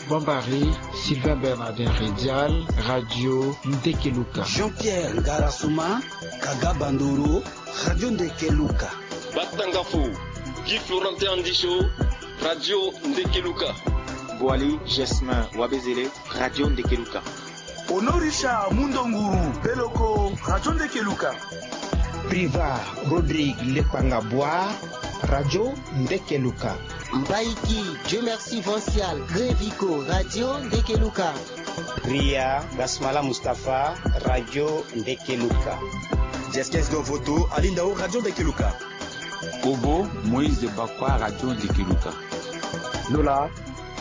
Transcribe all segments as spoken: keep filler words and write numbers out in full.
Bombari, Sylvain Bernardin Redial, Radio Ndekeluka. Jean-Pierre Ngarasuma, Kaga Bandoro, Radio Ndekeluka. Batangafo, Guy Florentin Andisho, Radio Ndekeluka. Boali Jasmin Wabezele, Radio Ndekeluka. Honorisha Mundonguru Beloko, Radio Ndekeluka. Priva Rodrigue Lekpanga Boa, Radio Ndekeluka. Mbaiki Dieu Merci Vancial Grevico, Radio Ndekeluka. Ria Gasmala Mustapha, Radio Ndekeluka. Jeskes Dovoto Alindao, Radio Ndekeluka. Kobo Moïse Bakwa, Radio Ndekeluka. Lola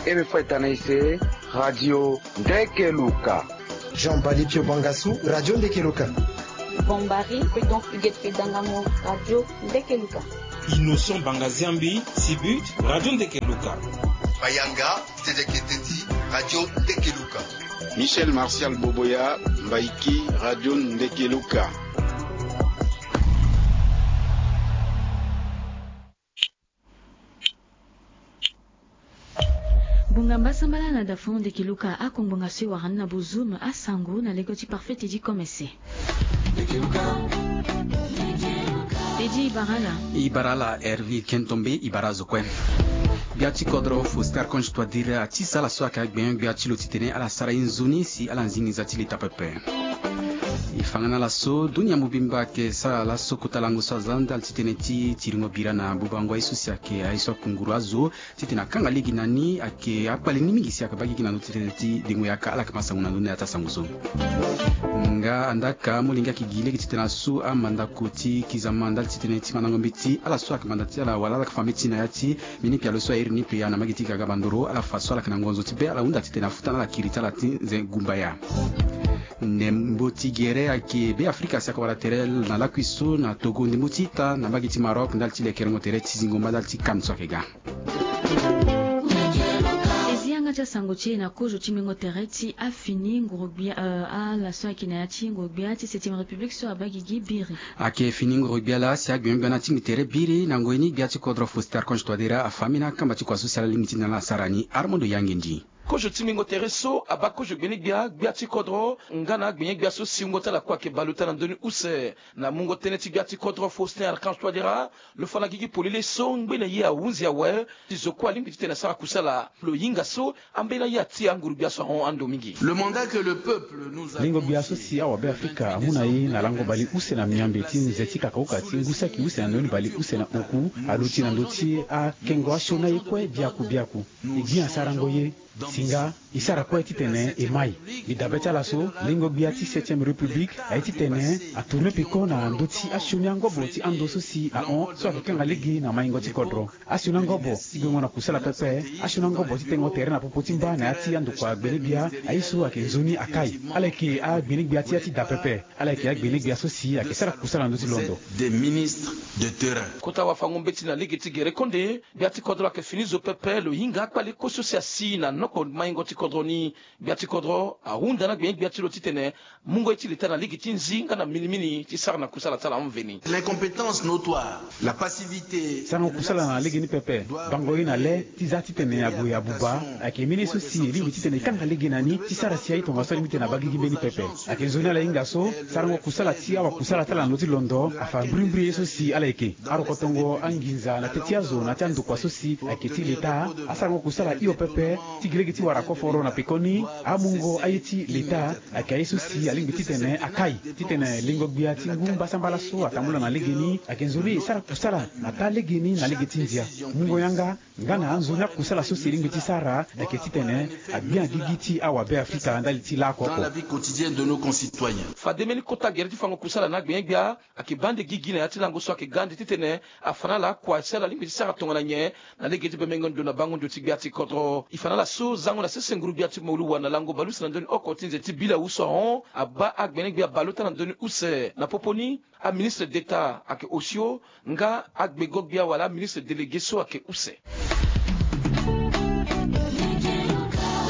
Eme Fo Etana Ise, Radio Ndekeluka. Jean Bali Pio Bangasu, Radio Ndekeluka. Bombari Prudence Huguette Fedangango, Radio Ndekeluka. Innocent Bangaziambi Sibut, Radio Ndekeluka. Bayanga Tedeketeti, Radio Ndekeluka. Michel Martial Boboya, Mbaiki, Radio Ndekeluka. Ngbonga mbasambala na dafon Ndekeluka, ako ngbonga so e wara ni na bozo me asango na lege ti Parfait Teddy Komese. Teddy, i bara ala? I bara ala Hervé Kentombe, i bara azo kue. Gbia ti kodro Faustin Archange Touadéra atisa ala so ayeke agbenyo-gbia ti lo titene ala sara ye nzoni si ala nzingi nza ti leta pepe. E fa nga na ala so dunia mobimba ayeke sara laso kota lango so aza ndali titene ti tiringo bira na bubango aye so si ayeke aye so akunguru azo titene akanga lege na ni, ayeke akpale ni mingi si ayeke baa gigi na ndö titene ti dengo yaka. Ala yeke ma sango na ndö ni na ya ti asango so. Nga andaka molenge ayeke gi lege titene asu amandako ti kizama ndali titene ti mandango mbeti ala so ayeke manda ti ala wala ala yeke fa mbeti na ya ti mbeni pialo so a iri ni pea na mbage ti Gaga Bandoro, ala fa so ala yeke na ngonzo ti be ala hunda titene afuta na ala kiri ti ala ti nze gumbaya. Ndembo ti gere ayeke Beafrika si ayeke wara tere na lakui so na Togo ndembo ti ita na mbage ti Maroc ndali ti lekerengo tere ti zingo mba ndali ti CAN so ayeke ga. E zi yanga ti asango ti e na kozo ti mingo tere ti afini nguru-gbia, euh, ala so ayeke na ya ti nguru-gbia ti Septième République so abaa gigi biri. Ayeke fini nguru-gbia laa si agbenyo-gbia ni atingbi tere biri na ngoi ni. Gbia ti kodro Faustin Archange Touadéra afa ambeni akamba ti kua so si ala lingbi ti na ala sara ni. Armando Yangendi. Kozo ti mingo tere so abaa kozo gbene-gbia, gbia ti kodro nga na agbenye-gbia so si wungo ti ala kue ayeke bale ota na ndö ni use. Na mungo tënë ti gbia ti kodro Faustin Archange Touadéra, lo fa na gigi polele so ngbene ye ahunzi awe. Ti zo kue alingbi titene asara kusala. Lo hinga so ambeni aye ati anguru-gbia so ahon ando mingi. Le mandat que le peuple nous a confié. Lingo gbia so si awabe Afrika amu na e na lango bale use na miambe ti nze ti kakaoka ti ngu saki use na ndö ni bale use na oku aluti na ndö ti akengo asioni aye kue biaku biaku. E gbi asarango ye. Si nga e sara kue titene e mai. Mbi dabe ti ala so, lingo gbia ti Septième République aye titene atourne peko na ndö ti asioni angobo ti ando so si ahon so ayeke kanga lege na maingo ti kodro. Asioni angobo ti guengo na kusala pepe. Asioni angobo ti tengo tere na popo ti mba na ya ti andokua gbene-gbia. Aye so ayeke nzoni akai. Ala yeke agbene-gbia ti ya ti da pepe. Ala yeke agbene-gbia so si ayeke sara kusala na ndö ti londo. Des ministres de terrain. Kota wafango-mbeti na lege ti gere konde, gbia ti kodro ayeke fini zo pepe. Lo hinga akpale kue so si asi na noko maingo ti kodro ni. Gbia ti kodro ahunda na gbenye-gbia ti lo titene mungo ye ti leta na lege ti nzi nga na minimini ti sara na kusala ti ala mveni. L'incompétence notoire, la passivité. Sarango kusala na lege ni pepe. Bango ye na le ti za titene ague abuba. Ayeke mbeni ye so si e lingbi titene e kanga lege na ni ti sara si aye tongaso alingbi titene abaa gigi mbeni pepe. Ayeke nzoni ala hinga so sarango kusala ti awakusala ti ala na ndö ti londo afa mbrimbri ye so si ala yeke. Arokotongo anginza na teti azo na ya ti andokua so si ayeke ti leta. Asarango kusala hio pepe ti gi lege ti wara koforo na pekoni. Amungo aye ti leta ayeke aye so si alingbi titene akai titene lingo gbia ti ngu mbasambala so atambula na legeni ayeke nzoni e sara kusala na taa legeni na lege ti ndia. Mungo yanga nga na anzoni akusala so si e lingbi ti sara ayeke titene agbia gigi ti awabe Afrika ndali ti laoko. Dans la vie quotidienne de nos concitoyens. Fade mbeni kota gere ti fango kusala na agbenye-gbia ayeke baa nde gigi na ya ti lango so ayeke ga nde titene afa na ala akua si ala lingbi ti sara tongana nyen na lege ti bembengo ndo na bango ndio ti gbia ti kodro. E fa na ala so zango na sese nguru-gbia ti Moluwa na lango bale use na ndö ni oko ti nze ti Bilawu so ahon abaa agbene-gbia baleota na ndö ni use. Na popo ni aministre d'État ayeke osio nga agbego-gbia wala aministre délégué so ayeke use.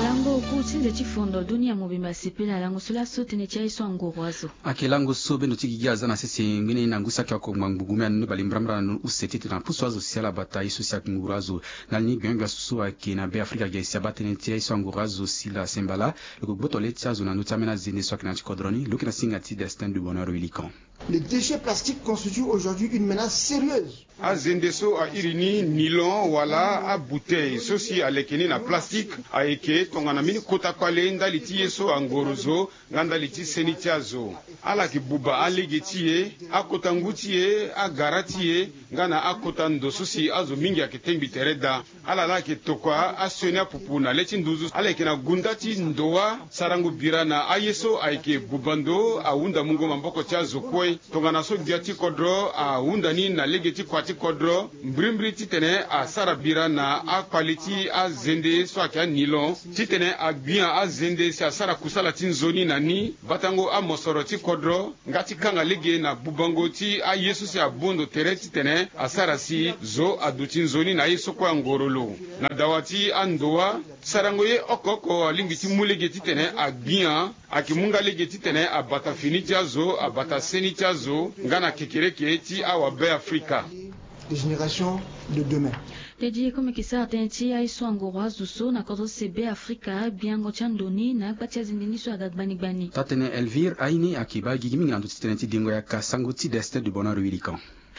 Lango oku ti Ti fondo dunia mobimba asepela lango so laso tënë ti aye so angoro azo. Ayeke lango so bendo ti gigi aza na sese ngbene ni na ngu saki oko ngbangbu gume anu ni bale mbrambra na use titene apusu azo si ala bata ye so si anguru azo. Na li ni gbengbia so so ayeke na Be Afrika ge si abaa tënë ti aye so anguru azo si la sembala. Lo yeke gboto le ti azo na ndö ti ambeni azende so ayeke na ya ti kodro ni lo yeke na singa ti Destin de Bonheur Wilikan. Les déchets plastiques constituent aujourd'hui une menace sérieuse. Azende so a iri ni nilon wala abutei so si aleke ni na plastique ayeke tongana mbeni kota kpale ndali ti ye so angoro zo nga ndali ti seni ti azo. Ala yeke buba alege ti e, akota ngu ti e, agara ti e, nga na akota ndo so si azo mingi ayeke tengbi tere daa. Ala laa ayeke tokua asioni apupu na le ti nduzu. Ala yeke na gunda ti ndowa. Sarango bira na aye so ayeke buba ndo ahunda mungo maboko ti azo kue. Tongana so gbia ti kodro ahunda ni na lege ti kua ti kodro mbrimbri titene asara bira na akpale ti azende so ayeke anilon titene agbia azende si asara kusala ti nzoni na ni. Batango amosoro ti kodro nga ti kanga lege na bubango ti aye so si abu ndo tere titene asara si zo aduti nzoni na aye so kue angoro lo. Na dawa ti andowa, sarango ye oko oko alingbi ti mu lege titene agbia, ayeke mu nga lege titene abata fini ti azo, abata seni ti azo nga na kekereke ti awa Be Afrika. Des générations de demain. Tënë ti e kue mbi yeke sara tënë ti aye so angoro azo so na kodro se Be Afrika, gbiango ti ando ni na agba ti azende ni so aga gbani gbani. Taa-tënë Elvire Aine ayeke baa gigi mingi na ndö ti tënë ti dengo yaka sango ti Destin de Bonheur Wilikan.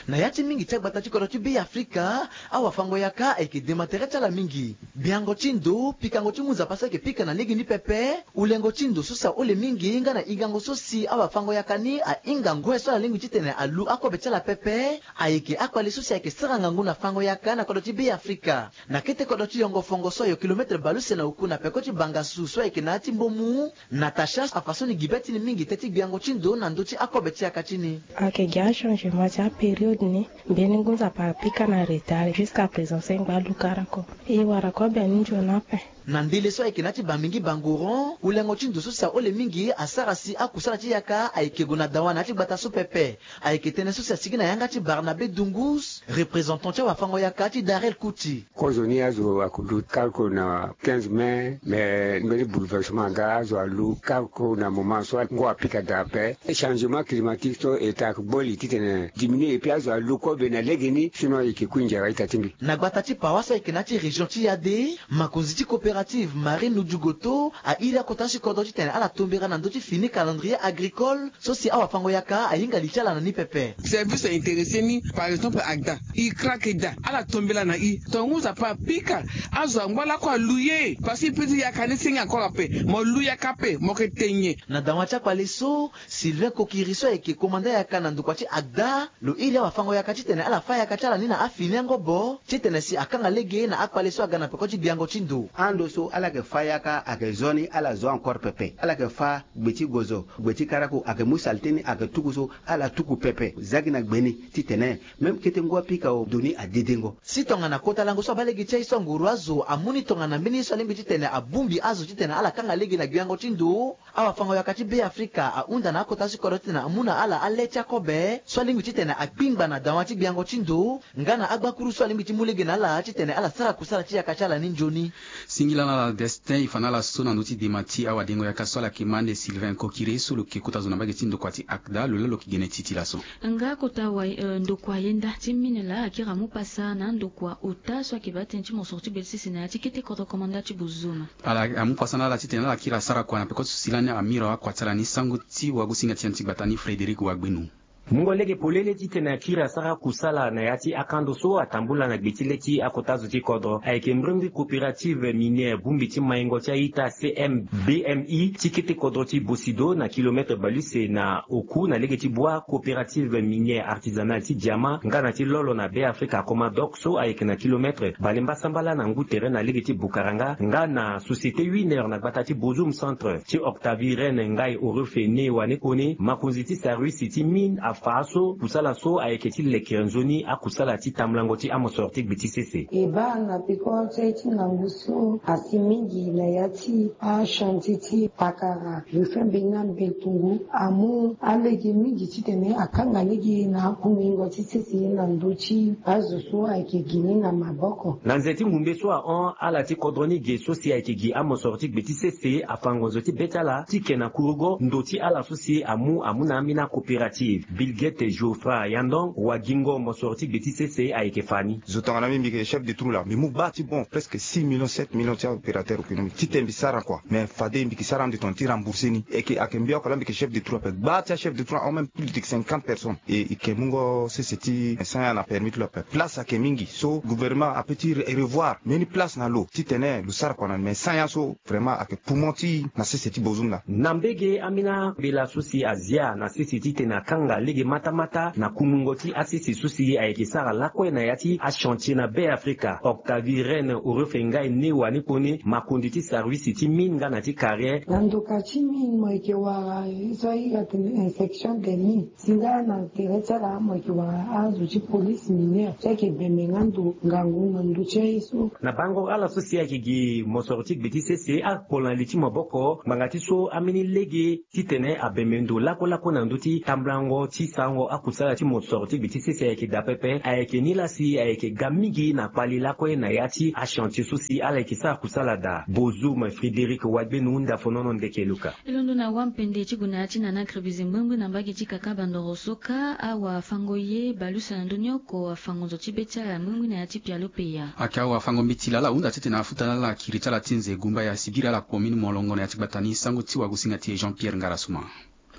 Na ya ti mingi ti agbata ti kodro ti Be Afrika, awafango yaka ayeke dema tere ti ala mingi. Gbiango ti ndo, pikango ti ngu nzapa so ayeke pika na lege ni pepe, hulengo ti ndo so si ahole mingi nga na hingango so si awafango yaka ni ahinga ngoi so ala lingbi titene alu akobe ti ala pepe, ayeke akpale so si ayeke sara ngangu na fango yaka na kodro ti Be Afrika. Na kete kodro ti Yongo Fongo so ayo kilometre bale use na oku na peko ti Bangassou so ayeke na ya ti Mbomou, Natacha afa so ni gi be ti ni mingi te ti gbiango ti ndo na ndö ti akobe ti yaka ti ni. Ayeke gi achangement ti apériode ni, mbeni ngu nzapa apika na retard, jusqu'à présent so e ngba alu kara oko. E wara kobe ni nzoni ape. Na ndele so ayeke na ya ti Bamingui Bangoron, hulengo ti ndo so si ahole mingi asara si akusala ti yaka ayeke gue na dawa na ya ti gbata so pepe. Ayeke tënë so si asigi na yanga ti Barnabé Dungus, représentant ti awafango yaka ti Darel Kuti. Kozoni azo akudu kal ko na quinze mai, mais mbeni bouleversement aga azo alu kal ko na moment so ngu apika daa ape. Changement climatique so eta akboli titene diminuer et puis azo alu kobe na legeni, sinon e yeke kui nzara ita ti mbi. Na gbata ti Paoa so ayeke na ya ti région ti Yade, makonzi ti coopérative Marine Nudugoto airi akota ti kodro titene ala tombera na ndö ti fini calendrier agricole so si awafango yaka ahinga li ti ala na ni pepe. Service intéressé ni, par exemple, agda, i krake daa, ala tombela na i. Tonga ngu nzapa apika, azo angba lakue alu ye, parce que i peut ti yaka ni senge encore ape, mo lu yaka ape, mo yeke te nyen. Na dawa ti akpale so, Sylvain Kokiri so ayeke komanda yaka na ndokua ti agda, lo iri awafango yaka titene ala fâ yaka ti ala ni na afini angobo titene si akanga lege na akpale so aga na peko ti gbiango ti ndo. Ando so ala yeke fâ yaka ayeke zo ni, ala zo encore pepe. Ala yeke fâ gbe ti gozo, gbe ti karaku, ayeke mu salté ni ayeke tuku so, ala tuku pepe. Za gi na gbe ni titene même kete ngu apika o, ndo ni adedengo. Si tongana kota lango so abaa lege ti aye so anguru azo amu ni tongana mbeni ye so alingbi titene abongbi azo titene ala kanga lege na gbiango ti ndo, awafango yaka ti Be Afrika ahunda na akota ti kodro titene amu na ala ale ti akobe so alingbi titene akpingba na dawa ti gbiango ti ndo, nga na agbakuru so alingbi ti mu lege na ala titene ala sara kusala ti yaka ti ala ni nzoni. Singila na ala Destin, e fa na ala so na ndö ti dema ti awadengo yaka so ala yeke ma ande Sylvain Kokiri so lo yeke kota zo na mbage ti ndokua ti agda, lo laa lo yeke gene ti ti laso. Nga kota wa, eh, ndokua yenda ti mine laa akiri amu pasa na andokua ota so ayeke baa tënë ti mosoro ti gbele sese na ya ti kete kodro komanda ti Bozoma. Ala amu pasa na ala titene ala kiri asara kua na peko ti so si lani amira akua ti ala ni. Sango ti wagosinga ti ya ti gbata ni Frédéric Wagbenu. Mungo lege polele titene akiri asara kusala na ya ti akando so atambula na gbe ti le ti akota zo ti kodro ayeke mbrimbri coopérative minière bongbi ti maingo ti a-ita C M B M I ti kete kodro ti Bosido na kilomètre bale use na oku na lege ti bua coopérative minière artisanale ti Diama nga na ti Lolo na Be Afrika Comadoc so ayeke na kilomètre bale mbasambala na ngu tere na lege ti Bukaranga nga na société Winer na gbata ti Bozoum Centre ti Octavie Reine Ngaï Orefe Ne Wane Kone, makonzi ti service ti mine a Fa so kusala so ayeke ti lekere nzoni akusala ti tambulango ti amosoro ti gbe ti sese. E baa na peko ti aye ti ngangu so asi mingi na ya ti achantier ti pakara, refin mbeni na mbentungu amu alege mingi titene akanga lege na akumingo ti sese na ndö ti azo so ayeke gi ni na maboko. Na nze ti ngumbe so ahon, ala ti kodro ni ge so si ayeke gi amosoro ti gbe ti sese afa ngonzo ti be ti ala ti ke na kurugo ndo ti ala so si amu amu na ambeni acoopérative. Bill Gates Geoffrey Yandong, wagingo mosoro ti gbe ti sese, ayeke fa ni. Zo tongana mbi, mbi yeke chef de trou laa, mbi mu gba ti bon presque six millions, sept millions ti aopérateur économique titene mbi sara kua. Mais fade mbi yeke sara ande tongana ti rembourser ni. Eke ayeke mbi oko laa mbi yeke chef de trou ape. Gba ti achef de trou ahon même plus de cinquante personnes. E, e yeke mungo sese ti sanya na permis ti lo ape. Place ayeke mingi so gouvernement ape ti re-, revoir mbeni place na lo titene lo sara kua na ni. Mais sanya so vraiment ayeke poumon ti na sese ti Bozum laa. Na mbege ambeni ambela so si azia na sese titene akanga lege matamata na kumungo ti asese so si ayeke sara lakue na ya ti achantier na Be Afrika, Octavie Reine Orofengai Newa ni kone, makonzi ti service ti mine nga na ti carrière. Na ndoka ti mine mo yeke wara so airi atene inspection des mines. Si nga na tere ti ala mo yeke wara azo ti police minière so ayeke bembe nga ndo ngangu na ndö ti aye so. Na bango ala so si ayeke gi mosoro ti gbe ti sese akpolo na li ti maboko ngbanga ti so ambeni lege titene abembe ndo lakue lakue na ndö ti tambulango ti sarango akusala ti mosoro ti gbe ti sese ayeke daa pepe. Ayeke ni laa si ayeke ga mingi na kpali lakue na ya ti achantier so si ala yeke sara kusala daa. Bozum Frédéric Wagbenu, Ndafo Nono, Ndeke Luka. E londo na wapende ti gue na ya ti nana gribizi mbrimbri na mbage ti kaka bandoro so kâ, awafango ye bale use na ndö ni oko afa ngonzo ti be ti ala mbrimbri na ya ti pialo peya. Ayeke awafango mbeti laa ala hunda titene afuta na ala kiri ti ala ti nze gumbaya si biri ala commune molongo na ya ti gbata ni. Sango ti wagosinga ti e Jean Pierre Ngarasuma.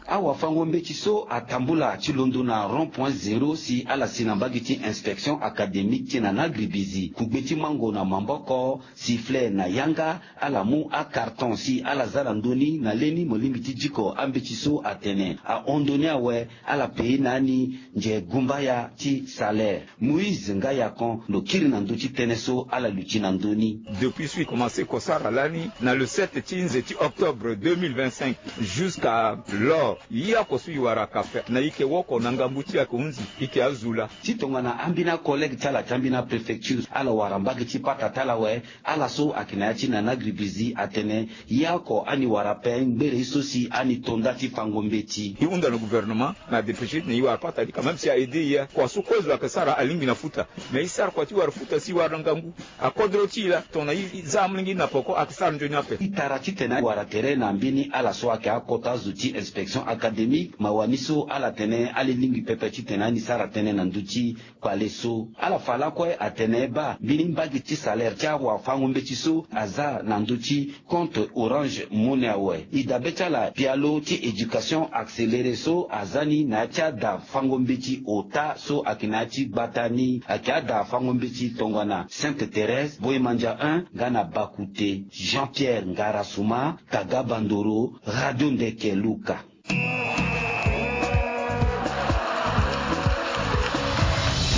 Awafango mbeti so atambula ti londo na rond point zéro si ala si na mbage ti inspection académique ti nana gribizi, kugbe ti mango na maboko, sifflet na yanga, ala mu acarton si ala za na ndö ni. Na leni mo lingbi ti diko ambeti so atene ahon ndö ni awe, ala pei na ni nze gumbaya ti salaire. Moïse Ngayakon lo kiri na ndö ti tënë so ala luti na ndö ni. Depuis so e commencé ko sara lani na le sept ti nze ti octobre deux mille vingt-cinq, jusqu'à l'heure, ye oko so e wara ka fait na e yeke woko na ngangu ti e ayeke hunzi, e yeke azo laa. Ti tongana ambeni acollègue ti ala ti ambeni apréfecture, ala wara mbage ti pata ti ala awe. Ala so ayeke na ya ti nana gribizi atene ye oko ani wara ape ngbere ye so si ani to nda ti fango mbeti. E hunda na gouvernement na dépêché titene e wara pata ni quand même si a aidé e. Kua so kue zo ayeke sara alingbi na futa. Mais e sara kua ti wara futa si e wara na ngangu. Akodro ti e laa tongana e za amolenge na peko ayeke sara nzoni ape. E tara titene e wara tere na mbeni ala so ayeke akota zo ti inspection académique, mawa ni so ala tene ala lingbi pepe titene ani sara tënë na ndö ti kpale so. Ala fa lakue atene baa mbeni mbage ti salaire ti awafango mbeti so aza na ndö ti compte Orange Money awe. E dabe ti ala pialo ti éducation accélérée so aza ni na ya ti ada fango mbeti ota so ayeke na ya ti gbata ni. Ayeke ada fango mbeti tongana Sainte Thérèse, Boimandia un nga na Bakute. Jean Pierre Ngarasuma, Kaga Bandoro, Radio Ndeke Luka.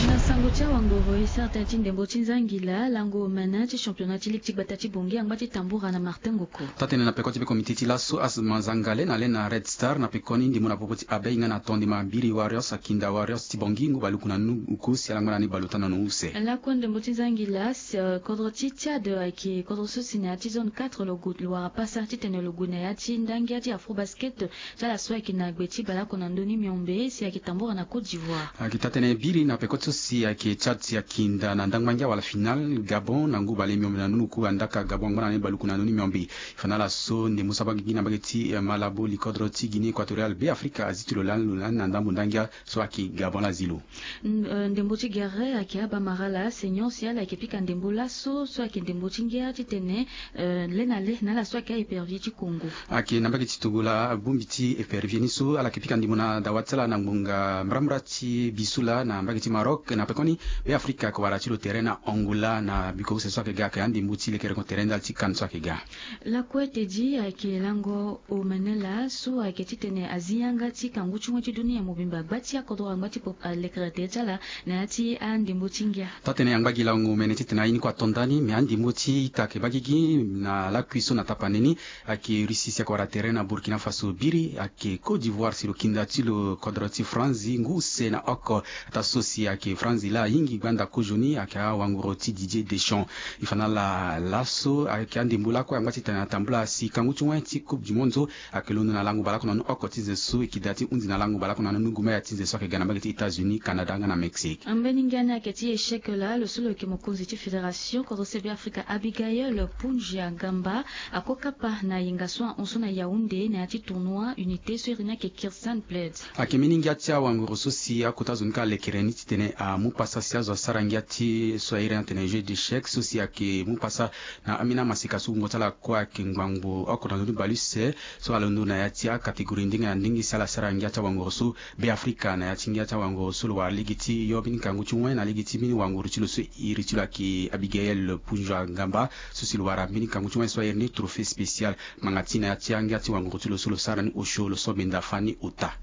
Na sango ti awangoro, e sara tënë ti ndembo ti nzangila lango omene ti championnat ti ligue ti gbata ti Bangui angba ti tambura na Martin Ngoko. Taa-tënë na peko ti be comité ti laso Asma Zangale na le na Red Star na pekoni ndembo na popo ti Abeille nga na Tondima Biri Warriors akinda Warriors ti Bangui ngu baluku na nunu uku si ala ngba na ni bale ota na nunu use. Lakue ndembo ti nzangila, eh, kodro ti Tchad ayeke kodro so si na ya ti zone quatre lo gue, lo wara pasa titene lo gue na ya ti ndangia ti Afrobasket ti ala so ayeke na gbe ti baleoko na ndö ni miombe si ayeke tambura na Côte d'Ivoire. Ayeke taa-tënë biri na peko ti so si ayeke Tchad si akinda na ndangba ngia wala finale Gabon na ngu bale miombe na nunu uku andaka Gabon angba na ni baluku na ndö ni miombe. Fa na ala so ndembo so abaa gigi na mbage ti, eh, Malabo, likodro ti Guinée Équatoriale, Be Afrika azi ti lo lani lo lani na ndambo ndangia so ayeke Gabon laa azi lo. N-, eh, ndembo ti gere ayeke abaa Marala Seigneur si ala yeke pika ndembo laso so ayeke ndembo ti ngia titene, eh, le na le na ala so ayeke a-épervier ti Congo. Ayeke na mbage ti Togo laa bongbi ti épervier ni so ala yeke pika ndembo na dawa ti ala na ngbonga mbrambra ti biso laa na mbage ti Maroc na pekoni Be afrika ayeke wara ti lo tere na Angola na biko use so ayeke ga ayeke andembo ti lekere ko tere ndali ti CAN so ayeke ga. Lakue tedi ayeke lango omene laa so ayeke titene azi yanga ti kangu ti ngoi ti dunia mobimba gba ti akodro angba ti pop alekere tere ti ala na ya ti andembo ti ngia. Taa-tënë angba gi lango omene titene aye ni kue ato ndani me andembo ti ita ayeke baa gigi na lakui so na tapande ni. Ayeke Russie si ayeke wara tere na Burkina Faso biri ayeke Côte d'Ivoire si lo kinda ti lo kodro ti Franzi ngu use na oko. Ataa so si ayeke Franzi laa ahingi gbanda kozoni ayeke awanguru ti Didier Deschamps. E fa na ala laso ayeke andembo lakue angba titene atambula si kangu ti wen ti Coupe du Monde so ayeke londo na lango bale oko na ni oko ti nze so e kida ti hunzi na lango bale oko na ni nungu maya ti nze so ayeke ga na mbage ti États-Unis, Canada nga na Mexique. Ambeni ngia ni ayeke ti échec laa lo so lo yeke mokonzi ti fédération kodro se Be Afrika Abigail Punja Gamba akokapa na yenga so ahon so na Yaoundé na ya ti tournoi unité so iri ni ayeke Kirsan Plate. Ayeke mbeni ngia ti awanguru so si akota zo ni kâ alekere ni titene amu pasa si azo asara ngia ti so airi ni atene jeu d'échec so si ayeke mu pasa na ambeni amaseka so wungo ti ala kue ayeke ngbangbo oko na ndö ni bale use so alondo na ya ti acatégorie ndenge na ndenge si ala sara ngia ti awanguru so. Be Afrika na ya ti ngia ti awanguru so lo wara lege ti yo mbeni ngangu ti wen na lege ti mbeni wanguru ti lo so iri ti lo ayeke Abigail Punja Gamba so si lo wara mbeni ngangu ti wen so airi ni trophée spécial. Ngbanga ti na ya ti angia ti wanguru ti lo so lo sara ni osio lo so benda fani ota.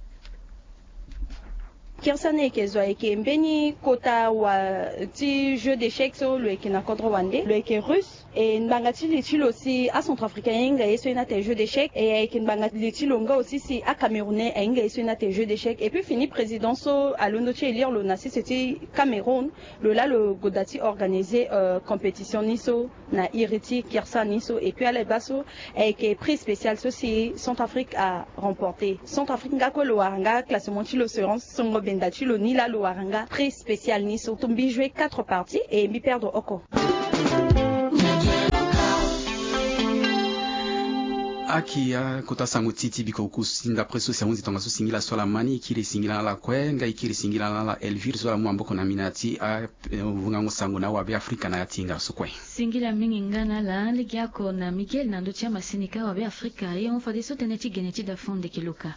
Kirsa ni eke zo ayeke mbeni kota wa ti jeu d'échec so lo yeke na kodro wande lo yeke russe. E ngbanga ti li ti lo si acentrafricain ahinga ye so e na tene jeu d'échec e ayeke ngbanga li ti lo nga aussi si acamerounais ahinga ye so e na tene jeu d'échec et puis fini président so alondo ti élire lo na sese ti Cameroun. Lo laa lo goda ti organiser compétition ni so na iri ti Kirsa ni so et puis ala baa so ayeke prix spécial so si Centrafrique a remporter. Centrafrique nga kue lo wara nga classement ti lo serence songo benda ti lo ni laa lo wara nga prix spécial ni so mbi jouer quatre parties et mbi perdre oko. Aki akota sango ti ti biko oku si ndapre so si ahunzi tongaso singila so ala ma ni e kiri singila na ala kue nga e kiri singila na ala Elvire so ala mu maboko na mina ti avungango sango na awabe afrika na ya ti hinga so kue. Singila mingi nga na ala legeoko na Miguel na ndö ti amasini ka awabe afrika e hon fadeso tënë ti gene ti dafon ndeke luka.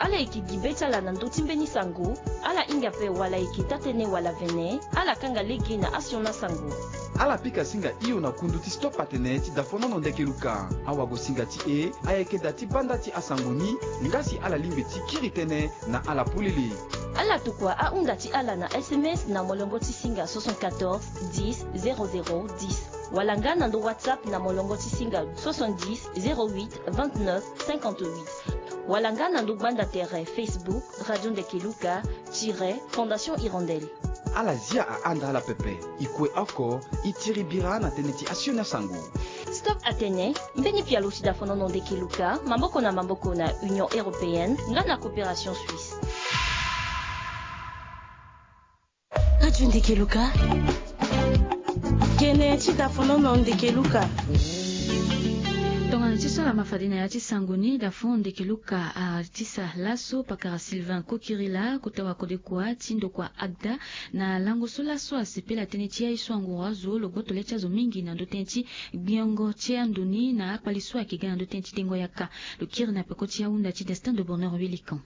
Ala yeke gi be ti ala na ndö ti mbeni sango. Ala hinga ape wala eke taa-tënë wala vene. Ala kanga lege na asiona sango. Ala pika singa hio na kundu ti stop atene ti dafonono ndeke luka. Awagosinga ti e ayeke daa ti banda ti asango ni. Nga si ala lingbi ti kiri tënë na ala polele. Ala tokua ahunda ti ala na sms na molongo ti singa soixante-quatorze dix zéro zéro dix. Wala nga na ndo whatsapp na molongo ti singa soixante-dix zéro huit vingt-neuf cinquante-huit. Wala nga na ndo gbanda tere facebook radio ndeke luka tire fondation hirondelle. Ala zia ahanda ala pepe. E kue oko e tiri bira na tënë ti asioni asango. Stop atene mbeni pialo ti dafonono ndeke luka maboko na maboko na union européenne nga na coopération suisse. Radio ndeke luka. Gene ti dafonono ndeke luka. Tongana ti so ala ma fade na ya ti sango ni dafon ndeke luka atisa laso pakara sylvain kokirila kota wakodekua ti ndokua agda. Na lango so laso asepela tënë ti aye so anguru azo lo gboto le ti azo mingi na ndö tënë ti gbiongo ti ando ni na akpale so ayeke ga na ndö tënë ti dengo yaka. Lo kiri na peko ti ahunda ti destin de bonheur wilikan.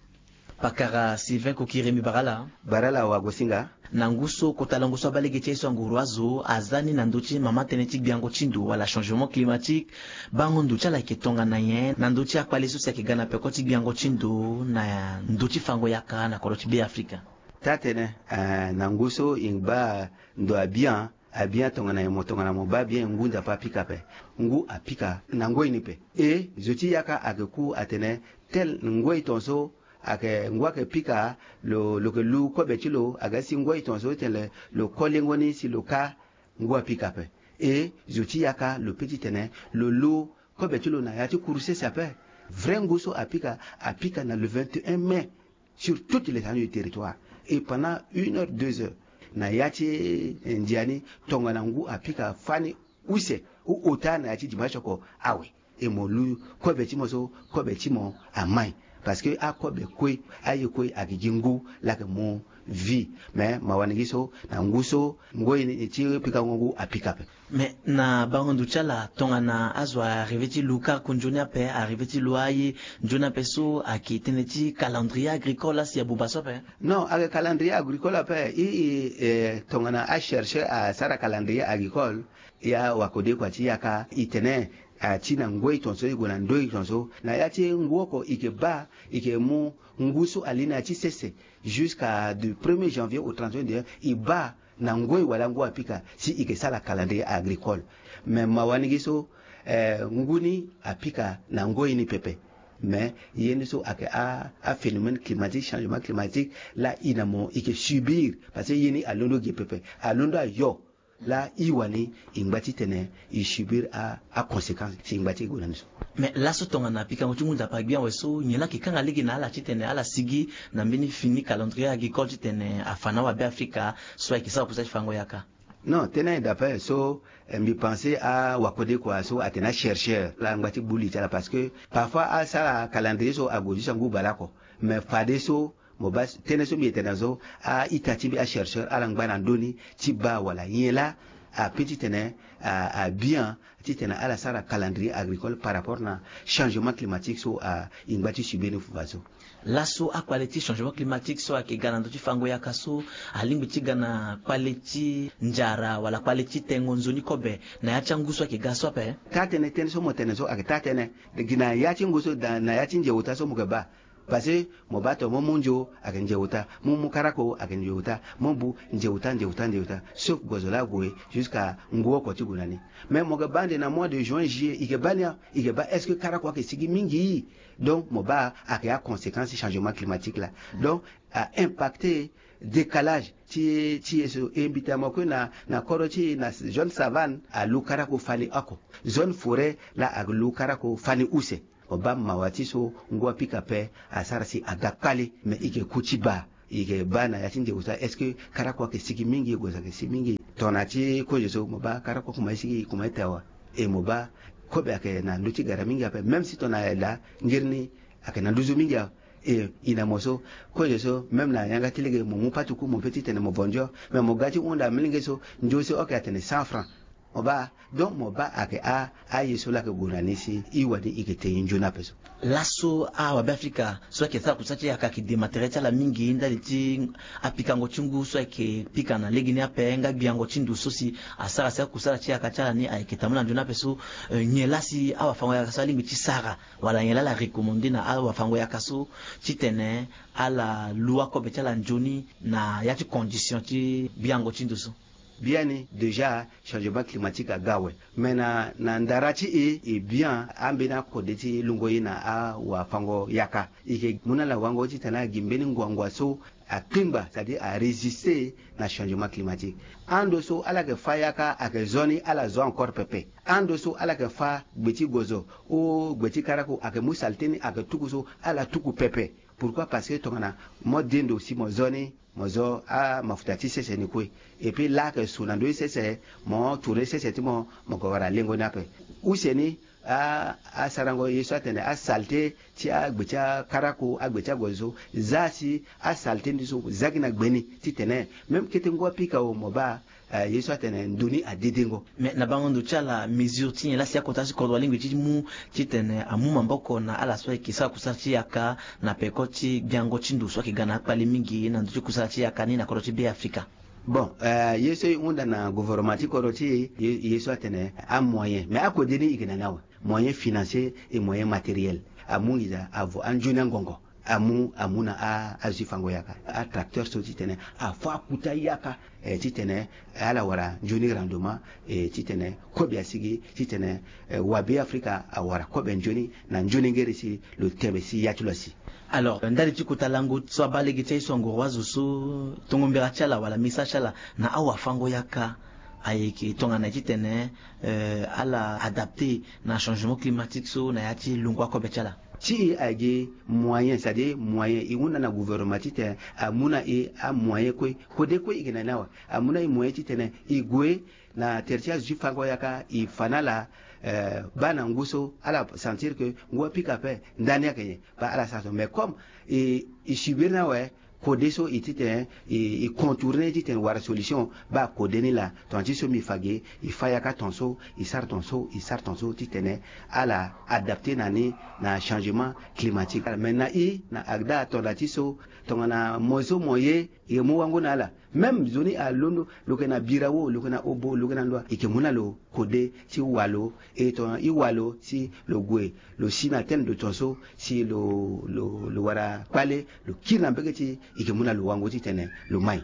Pakara sylvain kokiri mbi bara ala. Bara ala wagosinga. Na ngu so kota lango so abaa lege ti aye so anguru azo aza ni na ndö ti mama tënë ti gbiango ti ndo wala changement climatique. Bango ndo ti ala yeke tongana nyen na ndö ti akpale so si ayeke ga na peko ti gbiango ti ndo na ndö ti fango yaka na kodro ti be afrika. Taa-tënë, eh, na ngu so e ngba ndo abian abian tongana nyen mo tongana mo baa bien ngu ndapo apika ape. Ngu apika na ngoi ni pe. E zo ti yaka ayeke ku atene tel ngoi tongaso ayeke ngu ayeke pika lo lo yeke lu kobe ti lo aga si ngoi tongaso ti tene lo ko lengo ni si lo ka ngu apika ape. E zo ti yaka lo pe ti tene lo lu kobe ti lo na ya ti kuru sese ape. Vrai ngu so apika apika na le vingt et un mai sur toute l'étendue du territoire. Et pendant une heure deux heures na ya ti ndia ni tongana ngu apika fani use. Ota na ya ti dimanche oko awe. E mo lu kobe ti mo so kobe ti mo amai. Parce que akobe kue, aye kue ayeke gi ngu laa ayeke mu vie. Mais mawa ni gi so, na ngu so ngoi ni ti pikango ngu apika ape. Mais na bango ndo ti ala, tongana azo arrivé ti lu karaku nzoni ape, arrivé ti lu aye nzoni ape so, ayeke tënë ti calendrier agricole asi abuba so ape? Non, ayeke calendrier agricole ape. I, i, eh, tongana achercheur asara calendrier agricole, ya wakode kua ti yaka, i tene, ah, ti na ngoi tongaso e gue na ndö tongaso, na ya ti ngu oko i ke baa, i ke mu ngu so ali na ya ti sese, jusqu'à du premier janvier au trente et un décembre, i baa na ngoi wala ngu apika si i ke sara calendrier agricole. Mais mawa ni gi so, eh, ngu ni apika na ngoi ni pepe. Mais ye ni so ayeke a, aphénomène climatique, changement climatique, laa i na mo i ke subir, parce que ye ni alondo ge pepe, alondo ayo. Laa i wani i ngba titene i subir a, aconséquence si i ngba ti e gue na ni so. Mais laso tongana pikango ti ngu nzapa agbia awe so, nyen laa ayeke kanga lege na ala titene ala sigi na mbeni fini calendrier agricole titene afa na awabe afrika so ayeke sara kusala ti fango yaka? Non, tënë ayeke daa ape so, eh, mbi pense awakode kua so atene achercheur laa angba ti gbu li ti ala, parce que parfois asara calendrier so ague jusqu'à ngu baleoko. Mais fadeso mo baa tënë so mbi yeke tene na so, a-ita ti mbi achercheur ala ngba na ndö ni ti baa wala nyen laa ape titene a, a bien titene ala sara calendrier agricole par rapport na changement climatique so, a, i ngba ti subir ni fu fadeso. Laso akpale ti changement climatique so ayeke ga na ndö ti fango yaka so, alingbi ti ga na kpale ti nzara wala kpale ti tengo nzoni kobe na ya ti angu so ayeke ga so ape? Taa-tënë, tënë so mo tene so ayeke taa-tënë. Gi na ya ti ngu so, na, na ya ti nze ota so mo yeke baa. Parce que mo baa tongana mo mu nzo ayeke nze ota, mo mu karako ayeke nze ota, mo bu nze ota, nze ota, nze ota. Sauf gozo laa ague jusqu'à ngu oko ti gue na ni. Mais mo yeke baa ande na mois de juin, juillet, i yeke baa ni, i yeke baa est-ce que karako ayeke sigi mingi? Donc mo baa ayeke aconséquence ti changement climatique laa. Donc a impacté décalage ti, ti ye so. E mbi tene mo kue na, na kodro ti e na zone savane, alu karako fani oko. Zone forêt laa alu karako fani use. Mo baa mawa ti so ngu apika ape, asara si aga kpale, mais i yeke ku ti baa. I yeke baa na ya ti nze ota, est-ce que karako ayeke sigi mingi, gozo ayeke sigi mingi? Tongana ti kozo so mo baa karako akoma ti sigi, e koma ti te awa. E mo baa kobe ayeke na ndö ti gara mingi ape, même si tongana ayeke laa ngiri ni ayeke na nduzu mingi awe. E, i na mo so, kozo so, même na yanga ti lege mo mu patuku, mo pe titene mo vo nzo, mais mo ga ti hunda molenge so, nzo so oke atene cent francs. Mo baa, donc mo baa ayeke a, aye so laa ayeke gue na ni si i wani i yeke te i nzoni ape so. Laso awabe afrika so ayeke sara kusala ti yaka ayeke de matériel ti ala mingi ndali ti apikango ti ngu so ayeke pika na legeni ape nga gbiango ti ndo so si asara si akusala ti yaka ti ala ni ayeke tambula na nzoni ape so, eh, nyen laa si awafango yaka so alingbi ti sara? Wala nyen laa ala recommandé na awafango yaka so titene ala lu akobe ti ala nzoni na ya ti condition ti gbiango ti ndo so? Biani déjà changement climatique aga awe. Mais na, na ndara ti e, e bien ambeni akode ti lungo ye na awafango yaka. E yeke mu na ala wango titene ala gi mbeni ngwangwa so akpingba, c'est-à-dire arésister na changement climatique. Ando so ala yeke fâ yaka ayeke zo ni, ala zo encore pepe. Ando so ala yeke fâ gbe ti gozo o gbe ti karako ayeke mu saleté ni ayeke tuku so, ala tuku pepe. Pourquoi? Parce que tongana mo de ndo si mo zo ni, mo zo amafuta ti sese ni kue. Et puis laa ayeke su na ndö ti sese, mo tourner sese ti mo, mo yeke wara lengo ni ape. Use ni, a, asarango ye so atene asaleté ti agbe ti akarako, agbe ti agozo so, za si asaleté ni so za gi na gbe ni titene même kete ngu apika o, mo baa, eh, ye so atene ndo ni adedengo. Mais na bango ndo ti ala, mesure ti nyen laa si akota ti kodro alingbi ti mu titene amu maboko na ala so ayeke sara kusala ti yaka na peko ti gbiango ti ndo so ayeke ga na akpale mingi na ndö ti kusala ti yaka ni na kodro ti Be Afrika? Bon, eh, ye so e hunda na gouvernement ti kodro ti e, ye, ye so atene amoyen, mais akode ni e yeke na ni awe. Moyen financier et moyen matériel. Amu nginza avo anzoni angongo. Amu, amu na a, azo ti fango yaka. Atracteur so titene afâ akuta yaka, eh, titene ala wara nzoni rendement, eh, titene kobe asigi, titene, eh, wabe Afrika awara kobe nzoni na nzoni ngere si lo tene si ya ti lo asi. Alors, ndali ti kota lango so abaa lege ti aye so angoro azo so, tongo mbira ti ala wala message ti ala na awafango yaka ayeke tongana ye titene, eh, ala adapté na changement climatique so na ya ti lungo akobe ti ala? Ti e ayeke gi moyen, c'est-à-dire moyen, e hunda na gouvernement titene amu na e amoyen kue. Kode kue e yeke na ni awe, amu na e moyen titene e gue na tere ti azo ti fango yaka, e fa na ala, eh, baa na ngu so ala sentir que ngu apika ape ndani ayeke nyen, baa ala sara so. Mais comme e, e subir ni awe, kode so e titene e, e contourner titene wara solution, baa kode ni laa. Tongana ti so mbi fa ge, e fa yaka ton so, e sara ton so, e sara ton so titene ala adapter na ni na changement climatique. Mais na e na ACDAH, tongana ti so, tongana mo so mo ye, e mu wango na ala. Même nzoni alondo, lo yeke na Birao, lo yeke na Obo, lo yeke na Ndoua, e yeke mu na lo kode ti wa lo. E tongana e wa lo si lo gue, lo si na tene de ton so, si lo, lo, lo wara kpale, lo kiri na mbege ti e, e yeke mu na lo wango titene lo mai.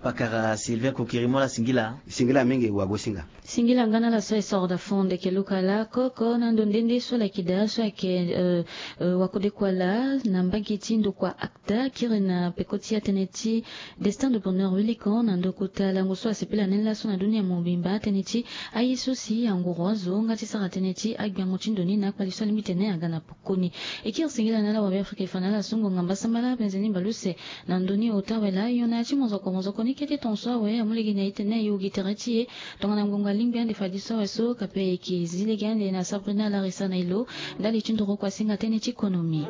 Pakara Sylvain Kokiri, mo laa singila. Singila mingi, wagosinga. Singila nga na ala so e soro daa fo ndeke luka lakoko na ndo nde nde so laki daa so ayeke, euh, euh, wakode kua laa na mbage ti ndokua ACDAH, kiri na peko ti atënë ti Destin de Bonheur Wilikon na ndo kota lango so asepela ni laso na dunia mobimba, atënë ti aye so si anguru azo nga ti sara tënë ti agbiango ti ndo ni na akpali so alingbi tene aga na koni. E kiri singila na ala wabe Afrika e fa na ala so ngonga mbasambala penze ni mbaluse na ndo ni ota awe laa. Yo na ya ti mozoko mozoko ni kete ton so awe amu lege na e tene e ugi tere ti e tongana ngonga alingbi ande fadiso awe so. Kape e yeke zi lege ande na Sabrina Larissa na e lo ndali ti nduru kua singa tënë ti konomi.